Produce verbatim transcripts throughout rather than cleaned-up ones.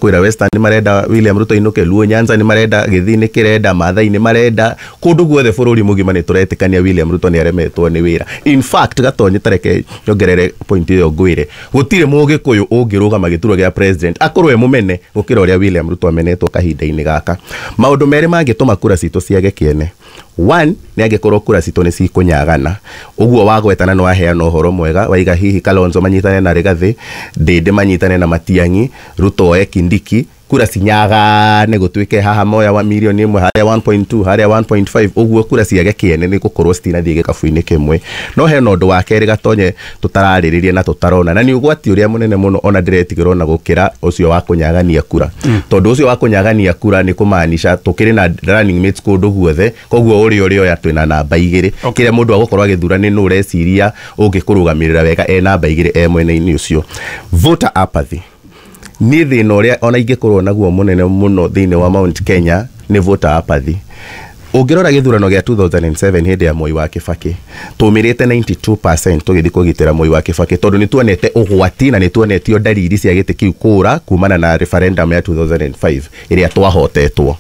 Kwĩra Western nĩ marenda William Ruto ainũke, Luo Nyanza nĩ marenda, Gĩthii nĩ kĩrenda, Maathai nĩ marenda, kũndũ guothe bũrũri mũgima nĩ tũretĩkania William Ruto nĩ aremetwo nĩ wĩra. In fact, Gatonye, tareke nyongerere point ĩyo, ngwĩre gũtirĩ Mũgĩkũyũ ũngĩrũgama gĩturwa gĩa president akorwo e mũmene gũkĩra ũrĩa William Ruto amenetwo kahinda-inĩ gaka. Maũndũ merĩ mangĩtũma kura citũ ciage kĩene. One, nĩ angĩkorwo kura citũ nĩ cikũnyagana ũguo wagwetana, nĩ waheana ũhoro mwega waiga hihi Kalonzo manyitane na Rigathĩ, Ndĩndĩ manyitane na Matiang'i, Ruto oe Kindiki, kura cinyagane, gũtuĩke haha moya wa milioni ĩmwe, harĩa one point two, harĩa one point five, ũguo kura ciage kĩene nĩ gũkorwo citinathiĩ gĩkabu-inĩ kĩmwe. No hena ũndũ wa kerĩ, Gatonye, tũtararĩrĩria na tũtarona, na nĩ ũgwati ũrĩa mũnene mũno ona ndĩretigĩra ona gũkĩra ũcio wa kũnyagania kura, tondũ ũcio wa kũnyagania kura nĩ kũmaanisha tũkĩrĩ na running mates kũndũ guothe, koguo ũrĩa ũrĩoya twĩna namba igĩrĩ. Kĩrĩa mũndũ agũkorwo agĩthura nĩ nũ ũreciria ũngĩkũrũgamĩrĩra wega e namba igĩrĩ e mwena-inĩ ũcio. Voter apathy niĩ thĩna ũrĩa ona ingĩkorwo naguo mũnene mũno thĩinĩ wa Mount Kenya nĩ voter apathy. Ũngĩrora gĩthurano gĩa two thousand and seven hĩndĩ ya Moi wa Kibaki, tũmĩrĩte ninety-two percent tũgĩthiĩ kũgitĩra Moi wa Kibaki, tondũ nĩ tuonete ũgwati na nĩ tuonetio ndariri cia gĩtĩ kĩu kũra kumana na referendum ya two thousand and five ĩrĩa twahotetwo.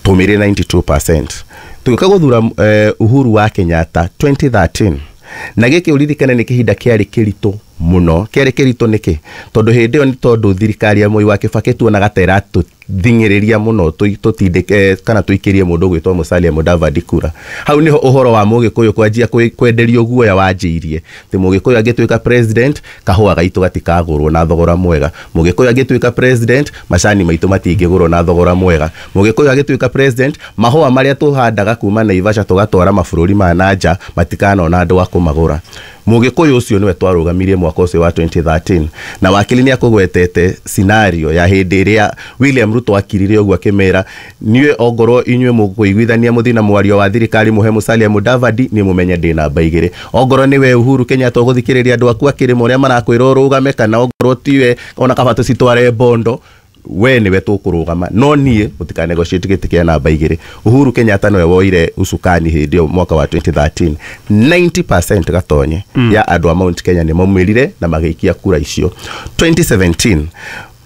Tũmĩrĩ ninety-two percent. Tũgĩũka gũthura eh, Uhuru wa Kenyatta twenty thirteen, na gĩkĩ ũririkane nĩ kĩhinda kĩarĩ kĩritũ mũno. Kĩarĩ kĩritũ nĩkĩ? Tondũ hĩndĩ ĩyo nĩ tondũ thirikari ya Moi wa Kibaki tuonaga ta ĩratũthing'ĩrĩria mũno tũ- tũtindĩke kana tũikĩrie mũndũ ũgwĩtwo Musalia Mudavadi kura. Hau nĩho ũhoro wa Mũgĩkũyũ kwanjia kwĩ- kwenderio guoya wanjĩirie, atĩ Mũgĩkũyũ angĩtuĩka president, kahũa gaitũ gatikagũrwo na thogora mwega, Mũgĩkũyũ angĩtuĩka president, macani maitũ matingĩgũrwo na thogora mwega, Mũgĩkũyũ angĩtuĩka president, mahũa marĩa tũhandaga kuma Naivasha tũgatwara mabũrũri ma na nja matikanona andũ a kũmagũra. Mũgĩkũyũ ũcio nĩwe twarũgamirie mwaka ũcio wa twenty thirteen, na wakili nĩ akũgwetete scenario ya hĩndĩ ĩrĩa William Ruto akirire ũguo akĩmera, niĩ ongorwo inyuĩ mũkũiguithania mũthiĩ na mwario wa thirikari mũhe Musalia Mudavadi, nĩ mũmenye ndĩ namba igĩrĩ. Ongorwo nĩwe Uhuru Kenyatta ũgũthikĩrĩria andũ aku akĩrĩma ũrĩa marakwĩra ũrũgame, kana ongorwo tiwe, ona kaba tũcitware bondo, we niwe tũkũrũgama, no niĩ mũtika negotiate gĩtĩ kĩa namba igĩrĩ. Uhuru Kenyatta nĩwe woire usukani hĩndĩ ĩyo mwaka wa twenty thirteen. ninety percent, Gatonye, mm. ya andũ a Mount Kenya nĩ maumĩrire na magĩikia kura icio. twenty seventeen,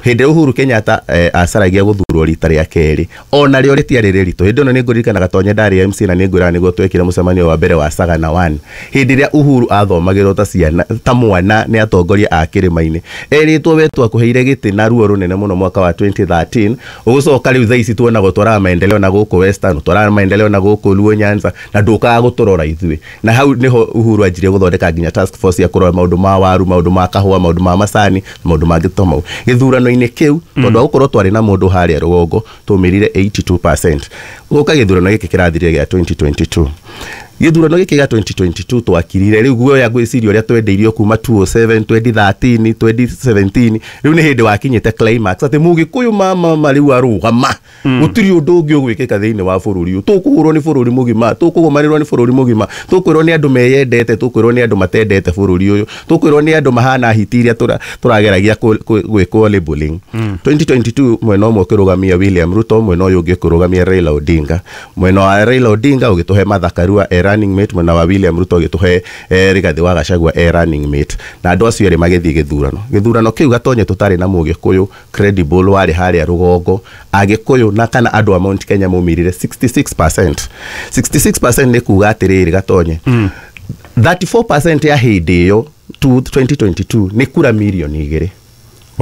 hĩndĩ ĩrĩa Uhuru Kenyatta eh, acaragia gũthurwo rita rĩa kerĩ, ona rĩo rĩtiarĩ rĩritũ. Hĩndĩ ĩno nĩ ngũririkana, Gatonye, ndarĩ M C, na nĩ ngwĩraga nĩguo twekire mũcemanio wa mbere wa Sagana one, hĩndĩ ĩrĩa Uhuru athomagĩrwo ta ciana ta mwana nĩ atongoria a kĩrĩma-inĩ, erĩtwo, we twakũheire gĩtĩ na ruo rũnene mũno mwaka wa twenty thirteen, ũgũcoka rĩu thaa ici tuona gũtwaraga maendeleo na gũkũ Western, ũtwaraga maendeleo na gũkũ Luo Nyanza, na ndũkaga gũtũrora ithuĩ. Na hau nĩho Uhuru anjirie gũthondeka nginya task force ya kũrora maũndũ ma waru, maũndũ ma kahũa, maũndũ ma macani, maũndũ mangĩ ta mau. Gĩthurano-inĩ kĩu, tondũ wa gũkorwo twarĩ na mũndũ harĩa rũgongo, tũmĩrire eighty-two percent. Gũka gĩthurano gĩkĩ kĩrathirire gĩa twenty twenty-two, gĩthurano gĩkĩ gĩa twenty twenty-two twakirire rĩu guoya, ngwĩciria ũrĩa twendeirio kuma two oh seven, twenty thirteen, twenty seventeen, rĩu nĩ hĩndĩ wakinyĩte climax atĩ Mũgĩkũyũ mama ma rĩu arũgama, gũtirĩ ũndũ ũngĩ ũgwĩkĩka thĩinĩ wa bũrũri ũyũ. Tũkũhũrwo nĩ bũrũri mũgima, tũkũgũmanĩrwo nĩ bũrũri mũgima, tũkwĩrwo nĩ andũ meyendete, tũkwĩrwo nĩ andũ matendete bũrũri ũyũ, tũkwĩrwo nĩ andũ mahana hiti iria tũra- tũrageragia kũ- kũ- gwĩkwo labeling. twenty twenty-two, mwena ũmwe ũkĩrũgamia William Ruto, mwena ũyũ ũngĩ ũkĩrũgamia Raila Odinga. Mwena wa Raila Odinga ũgĩtũhe Martha Karua e running mate, mwena wa William Ruto ũgĩtũhe eh, Rigathi wa Gachagua e running mate, na andũ acio erĩ magĩthiĩ gĩthurano. Gĩthurano kĩu, Gatonye, tũtarĩ na Mũgĩkũyũ credible warĩ harĩa rũgongo. Agĩkũyũ na kana andũ a Mount Kenya maumĩrire sixty-six percent. sixty-six percent nĩ kuga atĩrĩrĩ, Gatonye, thirty-four percent ya hĩndĩ ĩyo twenty twenty-two nĩ kura mirioni igĩrĩ.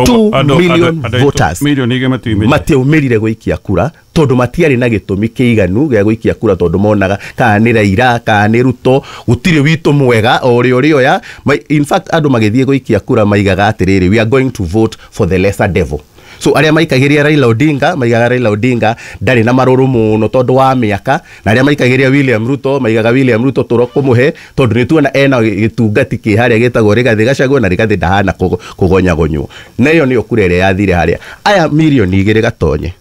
two million voters milioni igä matiumä. Matiaumĩrire gũikia kura tondũ matiarĩ na gĩtũmi kĩiganu gĩa gũikia kura, tondũ monaga kana nĩ Raila kana nĩ Ruto, gũtirĩ witũ mwega o ũrĩa ũrĩoya. Ma- in fact, andũ magĩthiĩ gũikia kura maigaga atĩrĩrĩ, "We are going to vote for the lesser devil." So arĩa maikagĩria Raila Odinga maigaga Raila Odinga ndarĩ na marũrũ mũno tondũ wa mĩaka, na arĩa maikagĩria William Ruto maigaga William Ruto tũrokũmũhe tondũ nĩ tuona ena gĩtungati kĩ harĩa gĩtagwo Rigathĩ Gachagua, na Rigathĩ ndahana kũgo- kũgonyagonywo. Na ĩyo nĩyo kura ĩrĩa yathire harĩa aya mirioni igĩrĩ, Gatonye.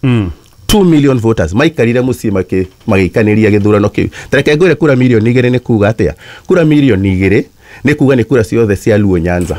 two million voters maikarire mũciĩ makĩ- magĩikanĩria gĩthurano kĩu. Tareke ngwĩre, kura mirioni igĩrĩ nĩ kuga atĩa? Kura mirioni igĩrĩ nĩ kuga nĩ kura ciothe cia Luo Nyanza.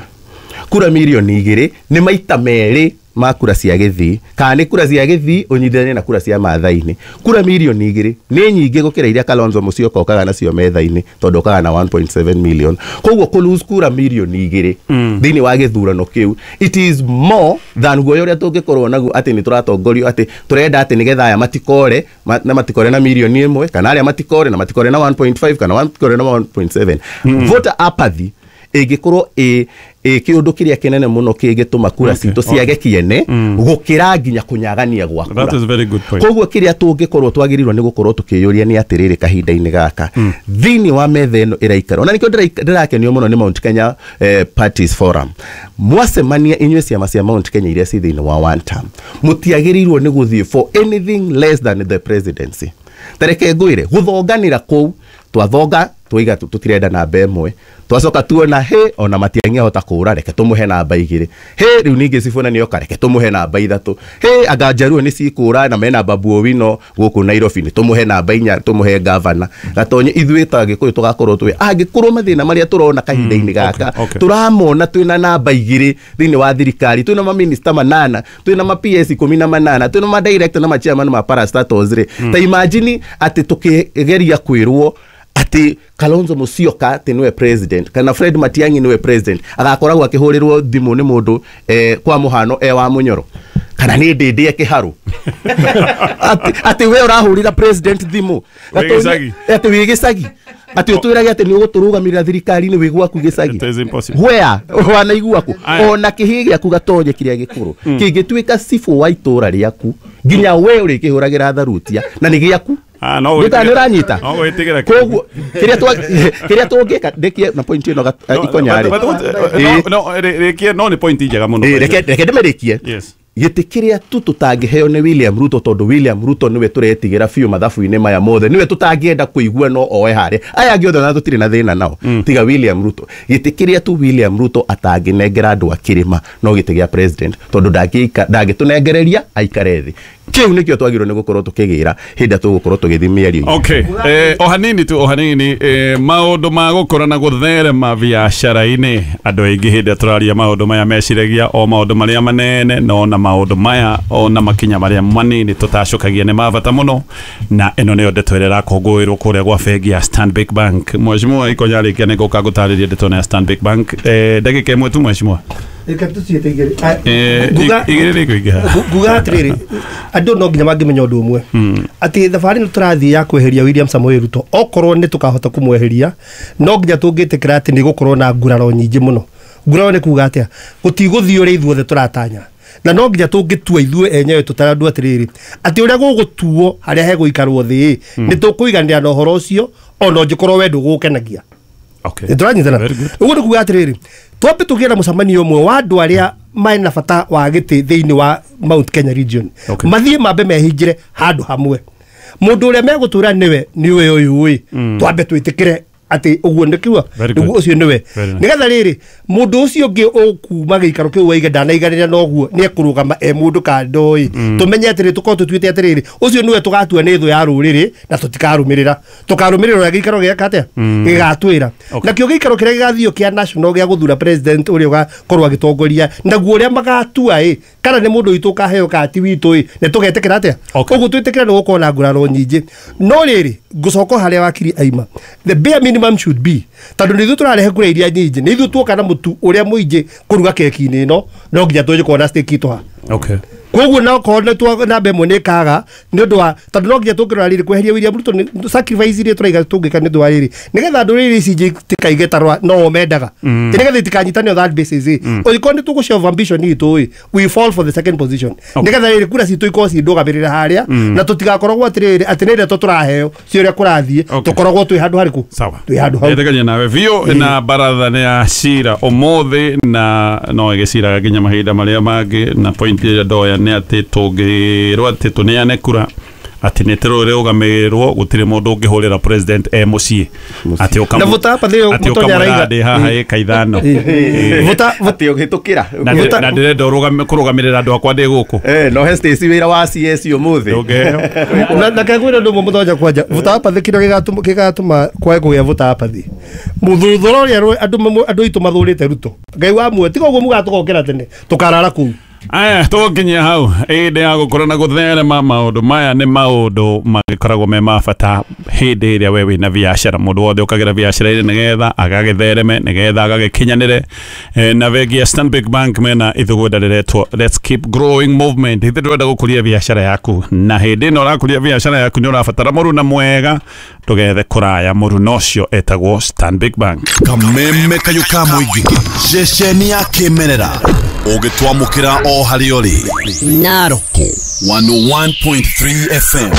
Kura mirioni igĩrĩ nĩ maita merĩ. ma kura cia Gĩthii kana nĩ kura cia Gĩthii ũnyitithanie na kura cia Maathai-inĩ, kura mirioni igĩrĩ nĩ nyingĩ gũkĩra iria Kalonzo Musyoka okaga nacio metha-inĩ, tondũ okaga na one point seven million. Koguo kũ lose kura mirioni igĩrĩ thĩinĩ wa gĩthurano kĩu, it is more than guoya ũrĩa tũngĩkorwo naguo atĩ nĩ tũratongorio atĩ tũrenda atĩ nĩgetha aya matikore na matikore na mirioni ĩmwe, kana arĩa matikore na matikore na one point five, kana matikore na one point seven. Voter apathy ĩngĩkorwo ĩ kĩũndũ kĩrĩa kĩnene mũno kĩngĩtũma kura citũ ciage kĩene gũkĩra nginya kũnyagania gwa kura. That is very good point. Koguo kĩrĩa tũngĩkorwo twagĩrĩirwo nĩ gũkorwo tũkĩyũria nĩ atĩrĩrĩ kahinda-inĩ gaka thĩinĩ wa metha ĩno ĩraikara, ona nĩkĩo ndĩrakenio mũno nĩ Mount Kenya eh, Parties Forum. Mwacemania inyuĩ ciama cia Mount Kenya iria ci thĩinĩ wa one term, mũtiagĩrĩirwo nĩ gũthiĩ for anything less than the presidency. Tareke ngwĩre gũthonganĩra kũu twathonga twiga tutirenda namba ĩmwe, twacoka tuona he ona matiangĩhota kũra, reke tũmũhe namba igĩrĩ, he rĩu ningĩ Sifuna nĩoka, reke tũmũhe namba ithatũ, he anga Njaruo nĩ cikũra na mena Babu Owino gũkũ Nairobi, nĩ tũmũhe namba inya, tũmũhe gavana. Gatonye ithuĩ ta Gĩkũyũ tũgakorwo twĩ angĩkorwo mathĩna marĩa tũrona kahinda-inĩ gaka tũramona twĩna namba igĩrĩ thĩinĩ wa thirikari, twĩna maminista manana, twĩna ma P S ikũmi na manana, twĩna ma director na ma chairman ma parastatals rĩ, ta imagine atĩ tũkĩgeria kwĩrwo atĩ Kalonzo Musyoka atĩ nĩwe president kana Fred Matiang'i nĩwe president, agakoragwo akĩhũrĩrwo thimũ nĩ mũndũ eh, kwa mũhano e wa Mũnyoro kana nĩ ndĩndĩ kĩharũ atĩ we ũrahũrĩra president thimũ atĩ wĩ gĩcagi, atĩ ũtwĩrage atĩ nĩ ũgũtũrũgamĩrĩra thirikari-inĩ wĩ gwaku gĩcagi, where wanaigua kũ ona kĩhĩ gĩaku gatonye kĩrĩa gĩkũrũ kĩngĩtuĩka cibũ wa itũra rĩaku nginya we ũrĩkĩhũragĩra tharutia na nĩ gĩaku. Ah, no, nĩ ũranyita. Koguo kĩrĩa kĩrĩa tũngĩka ndĩkie na point ĩno ikonya rĩ, no rĩkie, no nĩ point njega mũno, reke reke ndĩmĩrĩkie. Gĩtĩ kĩrĩa tu tũtangĩheo nĩ William Ruto, tondũ William Ruto nĩwe tũretigĩra biũ mathabu-inĩ maya mothe, nĩwe tũtangĩenda kũigua no oe harĩa aya angĩ othe na tũtirĩ na thĩna nao tiga William Ruto. Gĩtĩ kĩrĩa tu William Ruto atangĩnengera andũ a kĩrĩma no gĩtĩ gĩa president, tondũ ndangĩtũnengereria aikare thĩ. Kĩu nĩkĩo twagĩrĩirwo nĩ gũkorwo tũkĩgĩra hĩndĩ ĩrĩa tũgũkorwo tũgĩthiĩ mĩario. Okay, eh, o hanini tu, o hanini, eh, maũndũ ma gũkũra na gũtherema biacara-inĩ, andũ aingĩ hĩndĩ ĩrĩa tũraria maũndũ maya meciragia o maũndũ marĩa manene, no na maũndũ maya ona makinya marĩa manini tũtacũkagia nĩ ma bata mũno, na ĩno nĩyo ndeto ĩrĩa ĩrakũngũĩrwo kũrĩa gwa bengi ya Stanbic Bank. Mheshimiwa Ikonya rĩkia nĩ ngũka gũtarĩria ndeto ĩno ya Stanbic Bank. Eh, ndagĩka ĩmwe tu mheshimiwa. Nguga atĩrĩrĩ, andũ no nginya mangĩmenya ũndũ ũmwe atĩ thabarĩ ĩno tũrathiĩ ya kweheria William Samoei Ruto, okorwo nĩ tũkahota kũmweheria no nginya tũngĩtĩkĩra atĩ nĩ gũkorwo na nguraro nyingĩ mũno. Nguraro nĩ kuga atĩa? Gũtigũthiĩ ũrĩa ithuothe tũratanya, na no nginya tũngĩtua ithuĩ enyewe tũtarĩ andũ atĩrĩrĩ atĩ ũrĩa gũgũtuo harĩa hegũikarwo thĩ nĩ tũkũiganĩra na ũhoro ũcio ona ũngĩkorwo we ndũgũkenagia. Okay. Nĩtũranyitana. Ũguo nĩ kuga atĩrĩrĩ, twambe tũgĩe na mũcemanio ũmwe wa andũ arĩa mena bata wa gĩtĩ thĩinĩ wa Mount Kenya region, mathiĩ mambe mehingĩre handũ hamwe, mũndũ ũrĩa megũtũra nĩwe nĩwe ũyũ ĩ, twambe twĩtĩkĩre atĩ ũguo nĩkiuga nĩguo ũcio nĩwe, nĩgetha rĩrĩ mũndũ ũcio ũngĩ ũkuma gĩikaro kĩu waiga ndanaiganĩra na ũguo nĩ ekũrũgama e mũndũ kando ĩ, tũmenye atĩrĩ tũkorwo tũtuĩte atĩrĩrĩ ũcio nĩwe tũgatua nĩ thũ ya rũrĩrĩ na tũtikarũmĩrĩra, tũkarũmĩrĩra ũrĩa gĩikaro gĩaka atĩa gĩgatwĩra. Nakĩo gĩikaro kĩrĩa gĩgathiĩ kĩa national gĩa gũthura president ũrĩa ũgakorwo agĩtongoria naguo ũrĩa magatua ĩ, kana nĩ mũndũ witũ ũkaheo kana ti witũ ĩ, nĩ tũgetĩkĩra atĩa ũguo twĩtĩkĩra nĩ gũkorwo na nguraro nyingĩ. No rĩrĩ ngũcoka harĩa wakiri aima, the bare minimum should be, tondũ nĩ ithuĩ tũrarehe kura iria nyingĩ, nĩ ithuĩ tuoka na mũtu ũrĩa mũingĩ kũruga keki-inĩ ĩno, no nginya tũnjĩ na stake itũ ha. Okay. Koguo no korwo nĩ twa namba ĩmwe nĩ ĩkaga nĩ ũndũ wa tondũ no nginya tũngĩrora rĩrĩ kweheria William Ruto nĩ sacrifice iria tũraiga tũngĩka nĩ ũndũ wa rĩrĩ nĩgetha ndũrĩrĩ ici ingĩ itikaige ta no o mendaga, nĩgetha itikanyitane on that basis ĩ, ũngĩkorwo nĩ tũgũ ambition itũ ĩ, we fall for the second position, nĩgetha rĩrĩ kura citũ ikorwo cindũgamĩrĩra harĩa na tũtigakoragwo atĩrĩrĩ atĩ nĩ ndeto tũraheo ci ũrĩa kũrathiĩ, tũkoragwo twĩ handũ harĩkũ, twĩ handũ hau. Ndĩtekania nawe biũ na baratha nĩ ya cira ũmũthĩ na no ĩgĩciraga nginya mahinda marĩa mangĩ, na point ĩrĩa ndoya nĩ atĩ tũngĩrwo atĩ tũneane kura atĩ nĩ tũrũgamĩrĩrwo gũtirĩ mũndũ ũngĩhũrĩra president e mũciĩ atĩ ũkamũ atĩ ũkamwĩra ndĩ haha ĩka ithano atĩ ũhĩtũkĩra na ndĩrenda kũrũgamĩrĩra andũ akwa ndĩ gũkũ eh no he Stacy wĩra wa C S ũmũthĩ na kegwĩra ũndũ ũmwe mũthenya kwanja voter apathy kĩrĩa gĩgatũma kwage kũgĩa voter apathy mũthũthũro ũrĩa andũ andũ aitũ mathũrĩte Ruto Ngai wa muoyo tiga ũguo mugatũgokera tene tũkarara kũu. Aya, tũgũkinyia hau hĩndĩ ya gũkorwo na gũtherema maũndũ maya nĩ maũndũ magĩkoragwo me ma bata hĩndĩ ĩrĩa we wĩna biacara. Mũndũ wothe ũkagĩra biacara-inĩ nĩgetha agagĩthereme, nĩgetha agagĩkinyanĩre. Eh, na bengi ya Stanbic Bank mena ithugunda rĩretwo Let's Keep Growing Movement. Ithuĩ tũrenda gũkũria biacara yaku, na hĩndĩ ĩno ũrakũria biacara yaku nĩ ũrabatara mũruna mwega, ndũgethe kũraya. Mũruna ũcio etagwo Stanbic Bank. Kameme kayũ ka mũingĩ, ceceni ya kĩmerera ũgĩtwamũkĩra o harĩa ũrĩ. Narok one oh one point three F M.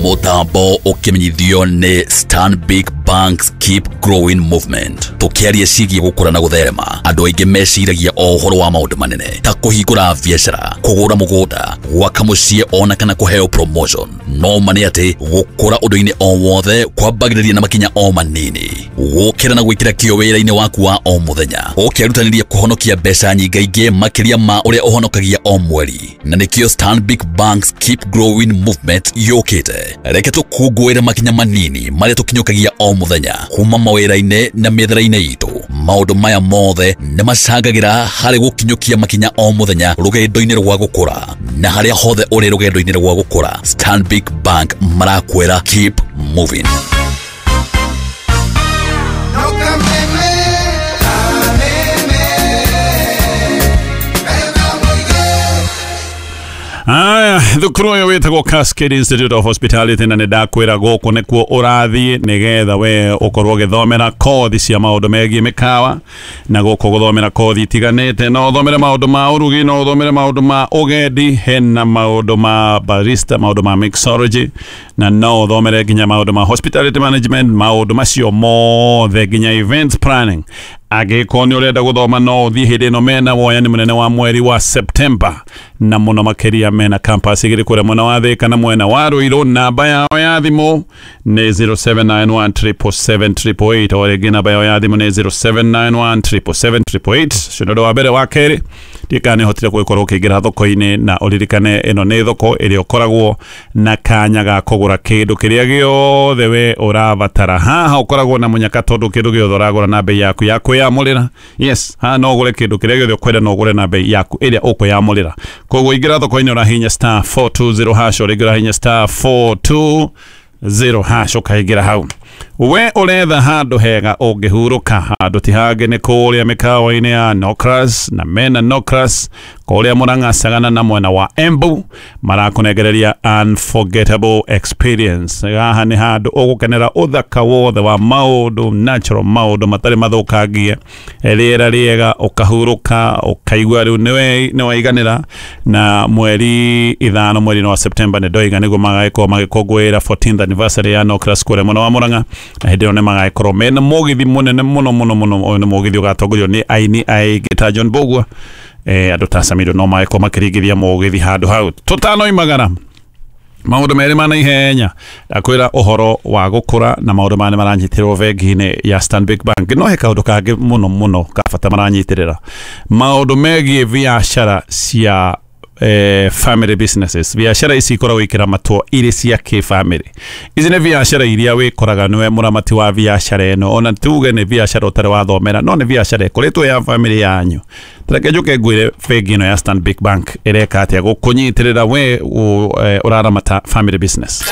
Mũtambo ũkĩmenyithio nĩ Stanbic Bank's Keep Growing Movement. Tũkĩaria ciĩgiĩ gũkũra na gũtherema, andũ aingĩ meciragia o ũhoro wa maũndũ manene ta kũhingũra biacara, kũgũra mũgũnda, gwaka mũciĩ ona kana kũheo promotion. No ma nĩ atĩ gũkũra ũndũ-inĩ o wothe kwambagĩrĩria na makinya o manini. Gũkĩra na gwĩkĩra kĩyo wĩra-inĩ waku wa o mũthenya, ũkĩrutanĩria kũhonokia mbeca nyingaingĩ makĩria ma ũrĩa ũhonokagia o mweri. Na nĩkĩo Stanbic Bank's Keep Growing Movement yũkĩte. Reke tũkũngũĩre makinya manini marĩa tũkinyũkagia o mũthenya kuma mawĩra-inĩ na mĩethere-inĩ itũ. Maũndũ maya mothe nĩ macangagĩra harĩ gũkinyũkia makinya o mũthenya rũgendo-inĩ rwa gũkũra. Na harĩa hothe ũrĩ rũgendo-inĩ rwa gũkũra, Stanbic Bank marakwĩra keep moving. Aya, thukuru ũyũ wĩtagwo Cascade Institute of Hospitality, na nĩ ndakwĩra gũkũ nĩkuo ũrathiĩ nĩgetha we ũkorwo ũgĩthomera kothi cia maũndũ megiĩ mĩkawa, na gũkũ gũthomera kothi itiganĩte. No ũthomere maũndũ ma ũrugi, no ũthomere maũndũ ma ũgendi, hena maũndũ ma barista, maũndũ ma mixology, na no ũthomere nginya maũndũ ma hospitality management, maũndũ macio mothe nginya event planning. Angĩkorwo nĩ ũrenda gũthoma no ũthiĩ hĩndĩ ĩno mena woyani mũnene wa mweri wa September, na mũno makĩria mena campus igĩrĩ kũrĩa mwena wa Thĩka na mwena wa Ruiru. Namba yao ya thimũ nĩ zero seven nine one triple seven triple eight, o rĩngĩ namba yao ya thimũ nĩ zero seven nine one triple seven triple eight. Ũcio nĩ ũndũ wa mbere. Wa kerĩ, ndiũĩ kana nĩ ũhotire gũgĩkorwo ũkĩingĩra thoko-inĩ, na ũririkane ĩno nĩ thoko ĩrĩa ũkoragwo na kanya ga kũgũra kĩndũ kĩrĩa gĩothe we ũrabatara. Haha ũkoragwo na mũnyaka tondũ kĩndũ gĩothe ũragũra na bei yaku ya kwĩyamũrĩra. Yes, haha no ũgũre kĩndũ kĩrĩa gĩothe ũkwenda, no ũgũre na bei yaku ĩrĩa ũkwĩyamũrĩra. Koguo ingĩra thoko-inĩ ũrahihinya star four two zero hash, o rĩngĩ ũrahihinya star four two zero hash ũkaingĩra hau. We ũretha handũ hega ũngĩhurũka, handũ ti hangĩ nĩ kũrĩa mĩkawa-inĩ ya Nocras, na mena Nocras kũrĩa Murang'a Sagana na mwena wa Embu, marakũnengereria unforgettable experience. Haha nĩ handũ ũgũkenera ũthaka wothe wa maũndũ natural, maũndũ matarĩ mathũkangie, rĩera rĩega, ũkahurũka, ũkaigua rĩu nĩ waiganĩra. Na mweri ithano mweri-inĩ wa September nĩ ndoiga nĩguo magagĩkorwo magĩkũngũĩra fourteenth anniversary ya Nocras kũrĩa mwena wa Murang'a, na hĩndĩ ĩyo nĩ magagĩkorwo mena mũgithi mũnene mũno mũno mũno. Ũyũ nĩ mũgithi ũgatongorio nĩ aini aingĩ ta John Mbugua, eh, andũ ta Samido no magĩkorwo makĩringithia mũgithi handũ hau. Tũtanoimagara maũndũ merĩ ma naihenya, ndakwĩra ũhoro wa gũkũra na maũndũ maya nĩ maranyitĩrĩrwo bengi-inĩ ya Stanbic Bank. No he kaũndũ kangĩ mũno mũno ka bata maranyitĩrĩra, maũndũ megiĩ biacara cia eh, family businesses. Biacara ici ikoragwo ikĩramatwo irĩ cia kĩ-family. Ici nĩ biacara iria wĩkoraga nĩwe mũramati wa biacara ĩno, ona tuge nĩ biacara ũtarĩ wathomera, no nĩ biacara ĩkoretwo ya family yanyu. Tareke njũke ngwĩre bengi ĩno ya Stanbic Bank ĩreka atĩa gũkũnyitĩrĩra we ũraramata family business.